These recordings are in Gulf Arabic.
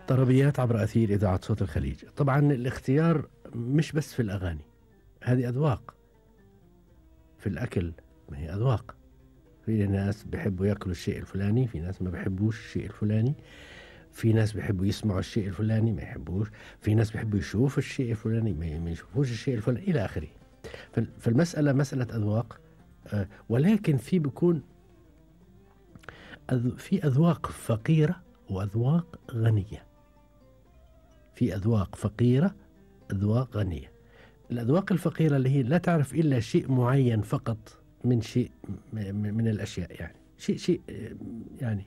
طربيات عبر أثير إذاعة صوت الخليج. طبعا الاختيار مش بس في الأغاني، هذه أذواق. في الأكل ما هي أذواق، في ناس بيحبوا يأكلوا الشيء الفلاني، في ناس ما بيحبوش الشيء الفلاني، في ناس بيحبوا يسمعوا الشيء الفلاني ما يحبوش، في ناس بيحبوا يشوفوا الشيء الفلاني ما يشوفوش الشيء الفلاني إلى آخره. فالمسألة مسألة أذواق. ولكن في بيكون في أذواق فقيرة وأذواق غنية. في أذواق فقيرة، أذواق غنية. الأذواق الفقيرة اللي هي لا تعرف إلا شيء معين فقط من شيء من الأشياء، يعني شيء يعني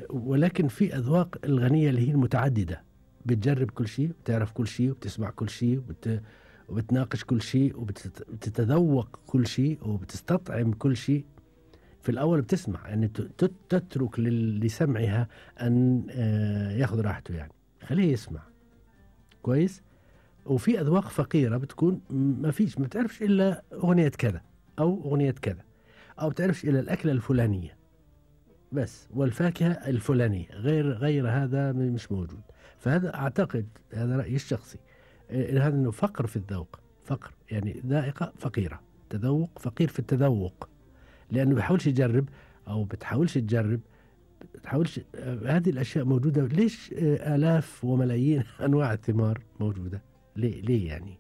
ولكن في أذواق الغنية اللي هي المتعددة، بتجرب كل شيء، بتعرف كل شيء، وبتسمع كل شيء، وبتناقش كل شيء، وبتتذوق كل شيء، وبتستطعم كل شيء. في الأول بتسمع، يعني تترك لسمعها أن ياخذ راحته، يعني خليه يسمع كويس. وفي أذواق فقيرة بتكون ما بتعرفش إلا أغنية كذا أو أغنية كذا، أو بتعرفش إلا الأكلة الفلانية بس، والفاكهة الفلانية، غير هذا مش موجود. فهذا أعتقد، هذا رأيي الشخصي، هذا إنه فقر في الذوق، فقر يعني ذائقة فقيرة، تذوق فقير في التذوق، لأنه بيحاولش يجرب أو بتحاولش تجرب، بتحاولش. هذه الأشياء موجودة. ليش آلاف وملايين أنواع الثمار موجودة؟ ليه يعني؟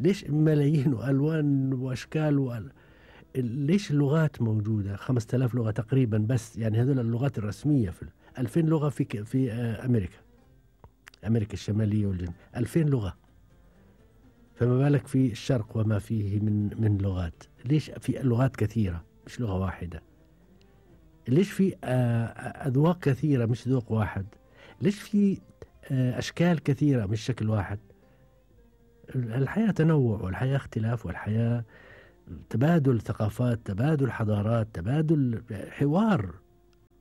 ليش ملايين وألوان وأشكال ليش اللغات موجودة 5000 لغة تقريبا بس، يعني هذول اللغات الرسمية. في 2000 لغة في أمريكا الشمالية والجنوبية، 2000 لغة، فما بالك في الشرق وما فيه من لغات. ليش في لغات كثيرة مش لغة واحدة؟ ليش في أذواق كثيرة مش ذوق واحد؟ ليش في أشكال كثيرة مش شكل واحد؟ الحياة تنوع، والحياة اختلاف، والحياة تبادل ثقافات، تبادل حضارات، تبادل حوار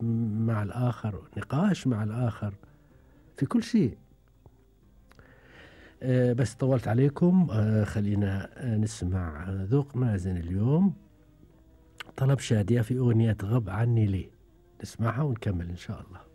مع الآخر، نقاش مع الآخر في كل شيء. بس طولت عليكم. خلينا نسمع ذوق مازن اليوم، طلب شادية في أغنية غب عني ليه. نسمعها ونكمل إن شاء الله.